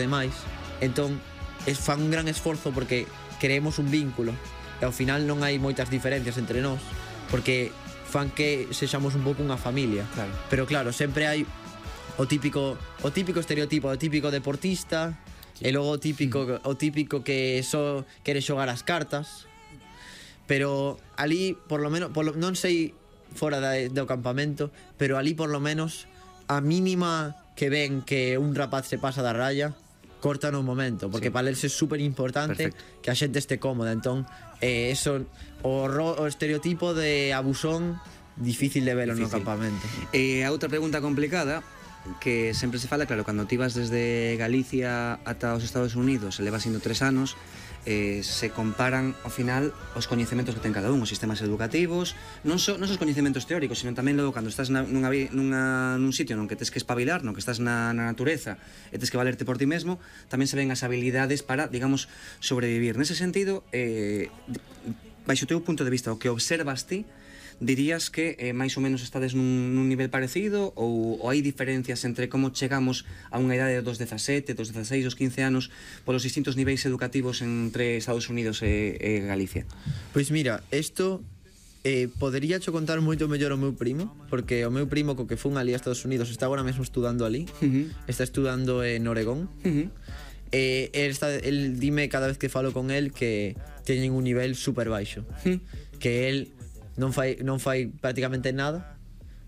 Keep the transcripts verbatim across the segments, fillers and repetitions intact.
demais, entón es, fan un gran esforzo porque creemos un vínculo e ao final non hai moitas diferencias entre nós, porque fan que sexamos un pouco unha familia. Claro. Pero claro, sempre hai o típico o típico estereotipo, o típico deportista, sí. E logo o típico mm. o típico que só quere xogar as cartas. Pero ali, por lo menos, por lo, non sei fora da, do campamento, pero ali por lo menos a mínima que ven que un rapaz se pasa da raya, cortan un momento, porque sí. Para eles é super importante. Perfecto. Que a xente este cómoda. Entón, eh, eso, o, ro, o estereotipo de abusón difícil de velo difícil. No campamento. E a outra pregunta complicada que sempre se fala, claro, cando ti vas desde Galicia ata os Estados Unidos e levas indo tres anos, eh, se comparan ao final os coñecementos que ten cada un, os sistemas educativos, non só non só os coñecementos teóricos, sino tamén logo cando estás na, nunha, nunha, nun sitio non que tes que espabilar, non que estás na, na natureza e tes que valerte por ti mesmo, tamén se ven as habilidades para, digamos, sobrevivir. Nese sentido, eh, baixo o teu punto de vista, o que observas ti, dirías que eh, máis ou menos estades nun, nun nivel parecido ou, ou hai diferencias entre como chegamos a unha idade dos dezasete, dos dezaseis, dos quince anos polos distintos niveis educativos entre Estados Unidos e, e Galicia? Pois mira, isto eh, podería cho contar moito mellor o meu primo, porque o meu primo co que fun ali a Estados Unidos está agora mesmo estudando ali, uh-huh. Está estudando en Oregón. Uh-huh. Eh, el, está, el dime cada vez que falo con el que teñen un nivel super baixo, uh-huh. Que el non fai, non fai prácticamente nada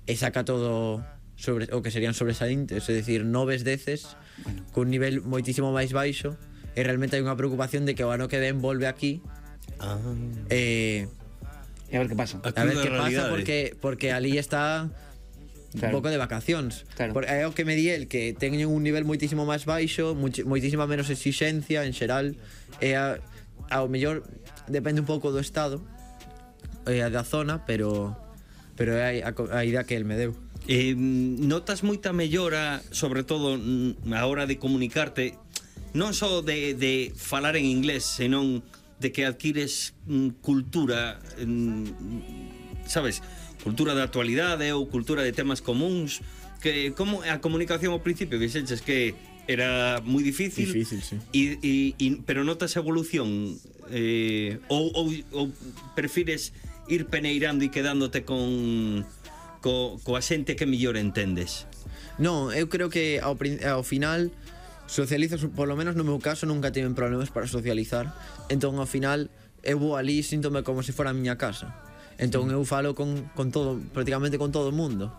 e saca todo sobre, o que serían sobresaíntes, é dicir, noves deces, bueno, con un nivel moitísimo máis baixo, e realmente hai unha preocupación de que o ano que ven volve aquí. Ah. E e a ver que pasa. A, a ver que pasa, porque, porque ali está claro. Un pouco de vacacións, claro. Porque é o que me di el, que teñen un nivel moitísimo máis baixo, moitísima menos exixencia en xeral, e a, ao mellor depende un pouco do estado e da zona, pero pero é a, a idea que el me deu. Eh, notas moita mellora, sobre todo a hora de comunicarte, non só de, de falar en inglés, senón de que adquires mm, cultura, mm, sabes, cultura da actualidade ou cultura de temas comuns, que como a comunicación ao principio que xenches que era moi difícil, difícil sí. e, e, e, pero notas evolución eh, ou, ou, ou prefires ir peneirando e quedándote con co, coa xente que mellor entendes? Non, eu creo que ao, ao final socializas, por lo menos no meu caso nunca tiven problemas para socializar, entón ao final eu vou ali e síntome como se fora a miña casa, entón eu falo con, con todo, prácticamente con todo o mundo,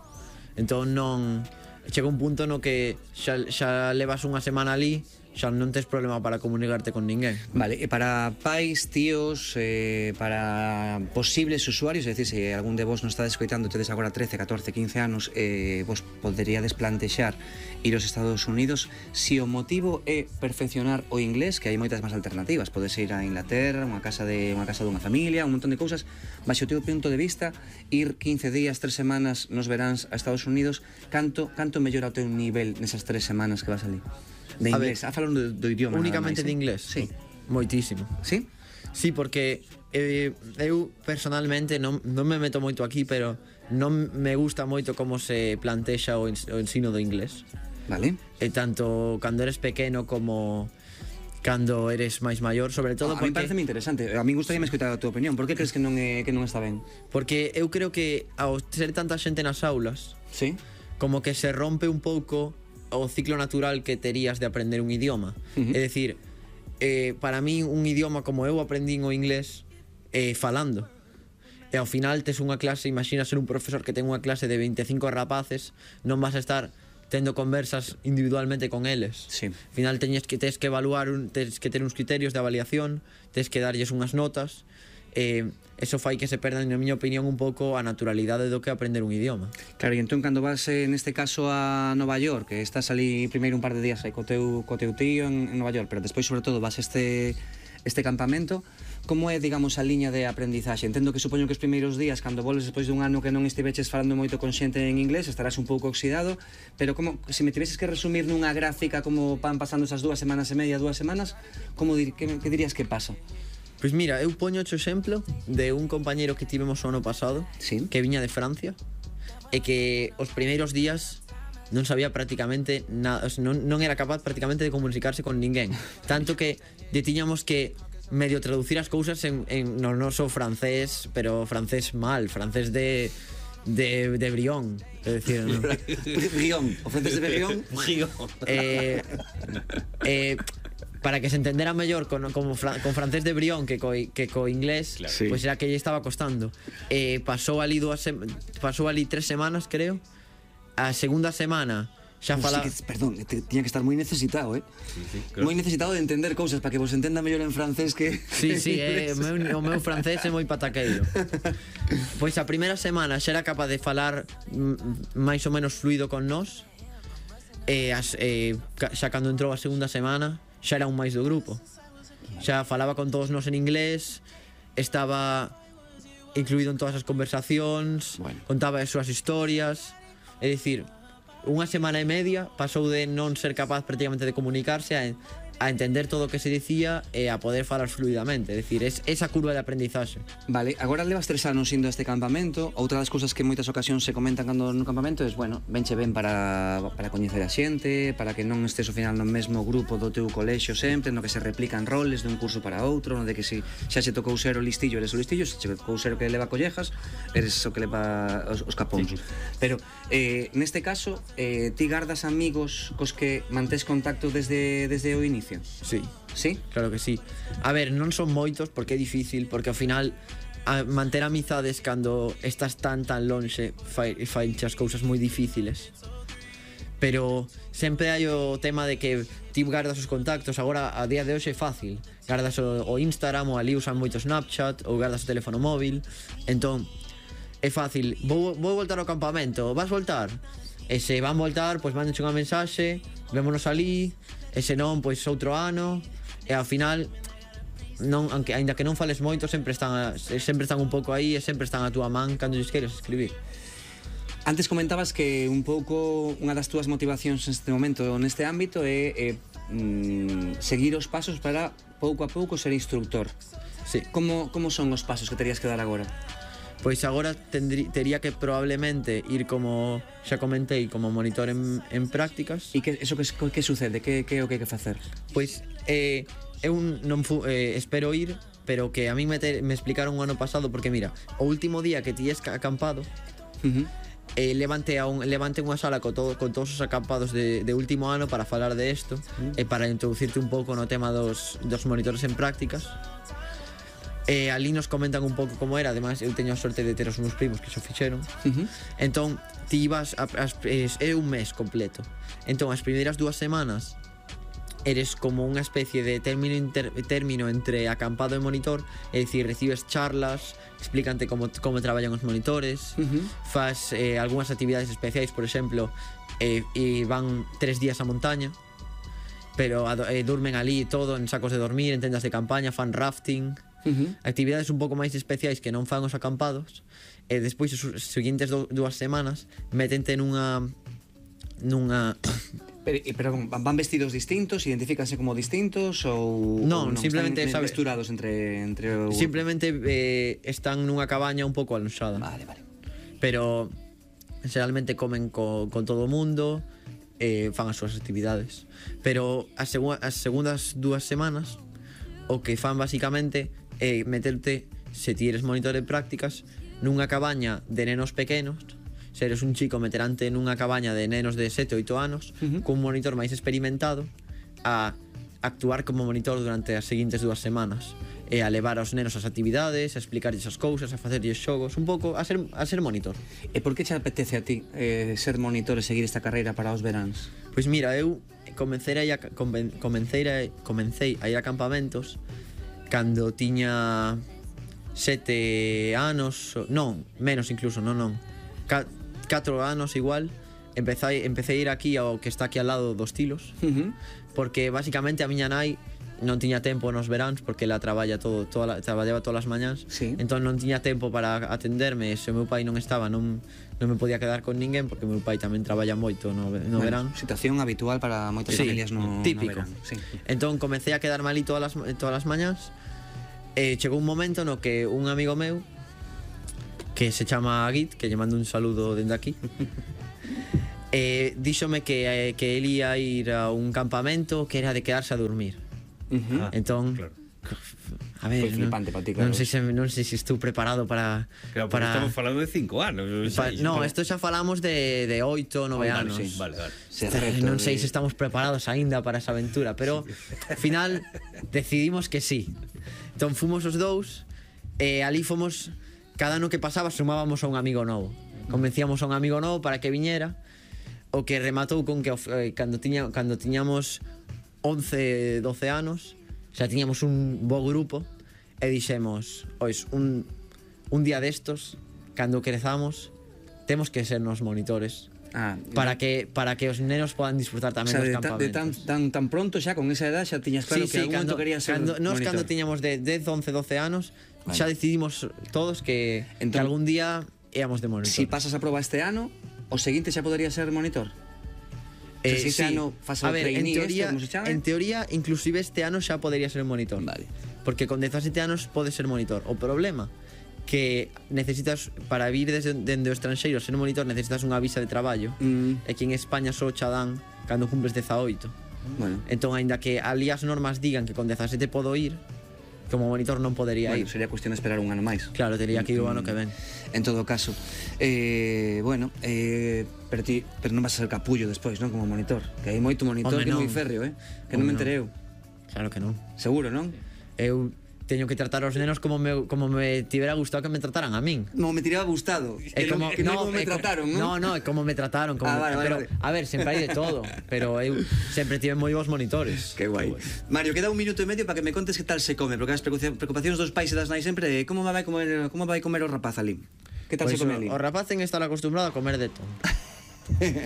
entón non chega un punto no que xa, xa levas unha semana ali, xa non tes problema para comunicarte con ninguén. Vale, e para pais, tíos, eh, para posibles usuarios, é dicir, se algún de vos non está escoitando, tedes agora trece, catorce, quince anos, eh, vos poderíades plantexar ir aos Estados Unidos, si o motivo é perfeccionar o inglés, que hai moitas máis alternativas, podes ir a Inglaterra, unha casa de unha casa dunha familia, un montón de cousas, baixo o teu punto de vista, ir quince días, tres semanas nos veráns a Estados Unidos, canto canto mellora o teu nivel nesas tres semanas que vas ali? De inglés, a, ver, a falando do, do idioma únicamente máis, de inglés? Sí. Moitísimo. Sí? Sí, porque eh, eu personalmente non, non me meto moito aquí, pero non me gusta moito como se plantexa o, o ensino do inglés. Vale. E tanto cando eres pequeno como cando eres máis maior, sobre todo ah, porque... A mí parece moi interesante, a mí gustaría me escoitar a tua opinión. Por que crees que non, é, que non está ben? Porque eu creo que ao ser tanta xente nas aulas, sí, como que se rompe un pouco o ciclo natural que terías de aprender un idioma. Uh-huh. É dicir, eh, para mí un idioma como eu aprendín o inglés eh, falando. E ao final tes unha clase, imagina ser un profesor que ten unha clase de veinticinco rapaces, non vas a estar tendo conversas individualmente con eles. Sí. Ao final teñes que, tes que evaluar, un, tes que ter uns criterios de avaliación, tes que darlles unhas notas, eh, eso fai que se perdan, na miña opinión, un pouco a naturalidade do que aprender un idioma. Claro, e entón cando vas, eh, neste caso, a Nova York, que estás ali primeiro un par de días aí co teu, co teu tío en, en Nova York, pero despois, sobre todo, vas a este, este campamento, como é, digamos, a liña de aprendizaxe? Entendo que supoño que os primeiros días, cando volves despois dun ano que non estiveches falando moito con xente en inglés, estarás un pouco oxidado, pero como, se me tiveses que resumir nunha gráfica como van pasando esas dúas semanas e media, dúas semanas, como dir, que, que dirías que pasa? Pois mira, eu poño o exemplo de un compañeiro que tivemos o ano pasado, sí, que viña de Francia, e que os primeiros días non sabía prácticamente nada, o sea, non, non era capaz prácticamente de comunicarse con ninguén, tanto que lle tiñamos que medio traducir as cousas en, en no noso francés, pero francés mal, francés de de, de Brión, é dicir, ¿no? Brión, o francés de Brión. Brión. eh, eh, para que se entendera mellor con, con, con francés de Brión que co, que co inglés, claro. Sí. Pues era que lle estaba costando. Eh, pasou ali dúas sem, pasou ali tres semanas, creo. A segunda semana xa Uf, fala... sí que, perdón, te, tiña que estar moi necesitado, eh? Sí, sí, claro. Moi necesitado de entender cousas para que vos entenda mellor en francés que... Sí, sí, eh, o, meu, o meu francés é moi pataqueiro. Pois a primeira semana xa era capaz de falar mm, máis ou menos fluido con nós. E as, eh, xa cando entrou a segunda semana xa era un máis do grupo. Xa falaba con todos nós en inglés, estaba incluído en todas as conversacións, Bueno. contaba as súas historias. É dicir, unha semana e media pasou de non ser capaz prácticamente de comunicarse a, a entender todo o que se dicía e a poder falar fluidamente. É dicir, es esa curva de aprendizaxe. Vale, agora levas tres anos indo a este campamento. Outra das cousas que en moitas ocasións se comentan cando no campamento é, bueno, venche ben para, para coñecer a xente, para que non estés ao final no mesmo grupo do teu colexio sempre, no que se replican roles de un curso para outro, no de que se xa se tocou ser o listillo, eres o listillo, se che tocou ser o que leva collejas, eres o que leva os, os capóns. Sí. Pero, eh, neste caso, eh, ti gardas amigos cos que mantés contacto desde, desde o inicio? Sí, Sí? claro que sí. A ver, non son moitos porque é difícil, porque ao final a manter amizades cando estás tan tan lonxe fai, fai as cousas moi difíciles. Pero sempre hai o tema de que ti gardas os contactos. Agora, a día de hoxe é fácil. Gardas o, o Instagram, ou ali usan moito Snapchat, ou gardas o teléfono móvil. Entón, é fácil. Vou, vou voltar ao campamento, vas voltar? E se van voltar, pois mándenche unha mensaxe, vémonos ali. E se non, pois outro ano. E ao final, non, aunque, ainda que non fales moito, sempre están, a, sempre están un pouco aí e sempre están a túa man cando lles queres escribir. Antes comentabas que un pouco unha das túas motivacións neste momento neste ámbito é, é mm, seguir os pasos para pouco a pouco ser instructor. Sí. Como, como son os pasos que terías que dar agora? Pois agora tendrí, tería que probablemente ir como, xa comentei, como monitor en, en prácticas. E que, eso que, que sucede? Que, que é o que hai que facer? Pois eh, eu non fu, eh, espero ir, pero que a mí me, te, me explicaron o ano pasado, porque mira, o último día que ti es acampado, Uh-huh. eh, levante, a un, levante unha sala con, todo, con todos os acampados de, de último ano para falar de isto, e eh, para introducirte un pouco no tema dos, dos monitores en prácticas. E ali nos comentan un pouco como era. Ademais, eu teño a sorte de ter os meus primos que xo fixeron. Uh-huh. Entón, ti ibas a, a, es, é un mes completo. Entón, as primeiras dúas semanas eres como unha especie de término, inter, término entre acampado e monitor. É dicir, recibes charlas, explícante como, como traballan os monitores. Uh-huh. Fas eh, algunhas actividades especiais, por exemplo, eh, e van tres días a montaña, pero eh, durmen ali todo en sacos de dormir, en tendas de campaña, fan rafting. Uh-huh. Actividades un pouco máis especiais que non fan os acampados. E despois as seguintes do, dúas semanas metente nunha nunha Pero, pero van vestidos distintos, identifícanse como distintos ou non, ou non simplemente están sabe, mesturados entre entre o... simplemente eh, están nunha cabaña un pouco alonsada. Vale, vale. Pero generalmente comen co, con todo o mundo, eh, fan as súas actividades. Pero as, segu as segundas dúas semanas o que fan basicamente é meterte, se ti eres monitor de prácticas, nunha cabaña de nenos pequenos. Se eres un chico, meterante nunha cabaña de nenos de sete oito anos, Uh-huh. cun monitor máis experimentado, a actuar como monitor durante as seguintes dúas semanas, e a levar aos nenos as actividades, a explicarlles as cousas, a facerlles xogos, un pouco a ser, a ser monitor. E por que che apetece a ti eh, ser monitor e seguir esta carreira para os veráns? Pois mira, eu comecei a, ir a, comecei a, comecei a ir a campamentos cando tiña sete anos, non, menos incluso, non, non, catro anos igual. Empecé, empecé a ir aquí ao que está aquí al lado dos Tilos, Uh-huh. porque basicamente a miña nai non tiña tempo nos veráns, porque ela traballa todo, toda, traballaba todas as mañás. Sí. Entón non tiña tempo para atenderme. Se o meu pai non estaba, non, non me podía quedar con ninguén, porque o meu pai tamén traballa moito no, no Bueno, verán. situación habitual para moitas Sí, familias no, típico. no verán. Sí. Entón comecei a quedarme ali todas as, todas as mañás. E chegou un momento no que un amigo meu, que se chama Agit, que lle mando un saludo dende aquí, eh, díxome que, eh, que él ia ir a un campamento que era de quedarse a dormir. Uh-huh. Entón, claro. A ver, Foi flipante non, pa ti, claro. non sei se non sei se estou preparado para Claro, para estamos falando de cinco anos. pa, no, isto xa falamos de de oito, nove Vale, anos. sí, vale, vale. Se Eh, reto non sei de- se estamos preparados aínda para esa aventura, pero ao final decidimos que sí. Entón fomos os dous e ali fomos, cada ano que pasaba sumábamos a un amigo novo. Convencíamos a un amigo novo para que viñera, o que rematou con que eh, cando tiña cando tiñamos once, doce anos, xa tiñamos un bo grupo e dixemos, ois, un un día destos, cando crezamos, temos que ser nos monitores. Ah, Para que para que os nenos podan disfrutar o tamén sea, dos de, ta, de tan, campamentos. tan, tan pronto xa, con esa edad, xa tiñas claro que algún momento querías ser cando, nos monitor. cando tiñamos de dez, once, doce anos, Vale. xa decidimos todos que, Entón, que algún día íamos de monitor. Si pasas a proba este ano, o seguinte xa podería ser monitor. Eh, se este sí. ano fas A o ver, en trainee teoría, este, como se chame? en teoría, inclusive este ano xa podría ser monitor. Vale. Porque con dezasete anos pode ser monitor. O problema que necesitas para vir desde dende o estranxeiro ser monitor necesitas unha visa de traballo. Mm, E aquí en España só cha dan cando cumples dezaoito. bueno, Entón, aínda que ali as normas digan que con dezasete podo ir, como monitor non podería bueno, ir. sería cuestión de esperar un ano máis. Claro, tería que ir o ano que ven. En todo caso, eh, bueno, eh, pero ti, pero non vas a ser capullo despois, non, como monitor. Que hai moito monitor Home, que é moi non. férreo, eh? Que non me Home, non. enterei eu. Claro que non. Seguro, non? Eu teño que tratar aos nenos como me, como me tivera gustado que me trataran a min. No, me tiraba gustado. É Que non- que non como me é co- trataron, non? No, no, é como me trataron, como Ah, vale, vale, pero vale. a ver, sempre hai de todo, pero eu sempre tive moi bons monitores. Que guai. Mario, queda un minuto e medio para que me contes que tal se come, porque as preocupa- preocupacións dos pais e das nais sempre é como vai comer, como vai comer o rapaz ali. Que tal Pois se come ali? o, o rapaz ten que estar acostumbrado a comer de todo.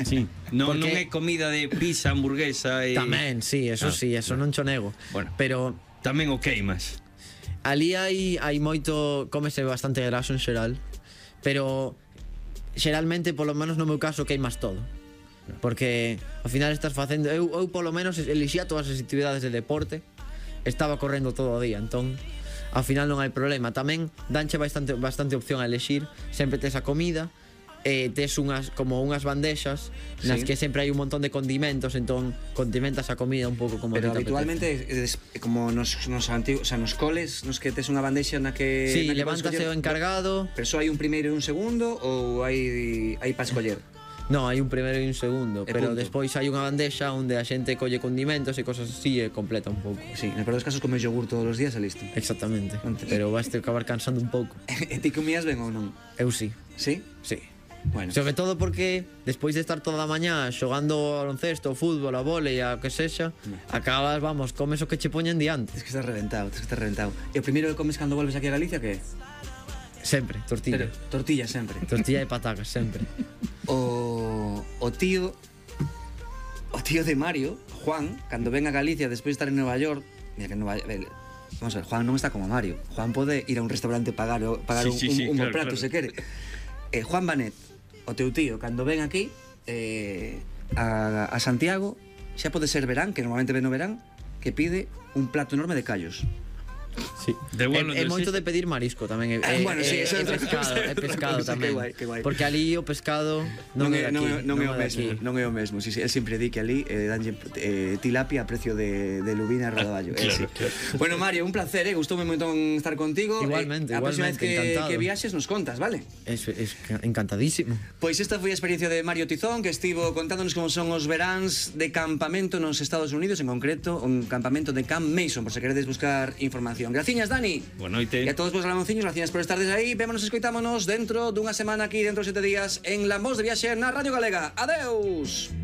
Sí. Non, Porque- non é comida de pizza, hamburguesa e... Tamén, sí, eso Ah, sí, eso non cho nego. Bueno. Pero Tamén o queimas. ali hai hai moito, cómese bastante graso en xeral, pero xeralmente, polo menos no meu caso, queimas todo. Porque ao final estás facendo, eu, eu polo menos elixía todas as actividades de deporte, estaba correndo todo o día, entón ao final non hai problema. Tamén danche bastante bastante opción a elixir, sempre tes a comida, e tes unhas como unhas bandexas nas Sí. que sempre hai un montón de condimentos, entón condimentas a comida un pouco como Pero a ti te habitualmente es, es como nos, nos antigos, o sea, nos coles, nos que tes unha bandexa na que apetece. Sí, na que podes levántase o escoller- encargado. Pero só hai un primeiro e un segundo ou hai hai para escoller? No, hai un primeiro e un segundo, E pero punto. despois hai unha bandexa onde a xente colle condimentos e cosas así e completa un pouco. Sí, no peor dos casos comes yogur todos os días e listo. Exactamente. Antes. Pero vas ter que acabar cansando un pouco. E ti comías ben ou non? Eu sí, Sí? sí. Bueno. Sobre todo porque despois de estar toda a mañá xogando ao baloncesto, ao fútbol, a vólei, a que sexa, acabas, vamos, comes o que che poñen diante. Tens que estar reventado, tens que estar reventado. E o primeiro que comes cando volves aquí a Galicia que é? Sempre, tortilla. Pero, tortilla sempre. Tortilla e patacas, sempre. O, o tío o tío de Mario, Juan, cando ven a Galicia despois de estar en Nova York, mira que en Nova York, vamos a ver, Juan non está como Mario. Juan pode ir a un restaurante e pagar, o- pagar Sí, un, sí, sí, un, un claro, prato claro. se quere. Eh, Juan Banet, o teu tío, cando ven aquí eh, a, a Santiago, xa pode ser verán, que normalmente ven no verán, que pide un plato enorme de callos. Sí. De bueno, é, é de- moito de pedir marisco tamén. É, Ah, é, bueno, sí, é, eso é é outra pescado, cousa, é pescado outra cousa, tamén. que guai, que guai. Porque ali o pescado non, é de aquí. non, non é o de mesmo, aquí. non é o mesmo. Si, si, el sempre di que ali eh, danlle eh, tilapia a precio de, de lubina e rodaballo. Claro, sí. claro. Bueno, Mario, un placer, eh? Gustoume un montón estar contigo. Igualmente, eh, a próxima vez igualmente, que, encantado. que viaxes nos contas, vale? Es, es encantadísimo. Pois esta foi a experiencia de Mario Tizón, que estivo contándonos como son os veráns de campamento nos Estados Unidos, en concreto un campamento de Camp Mason, por se queredes buscar información. Graciñas, Dani. Boa noite. E a todos vos Ramonciños, gracias por estar desde aí. Vémonos e escoitámonos dentro dunha semana aquí, dentro de sete días, en La Voz de Viaxe na Radio Galega. Adeus!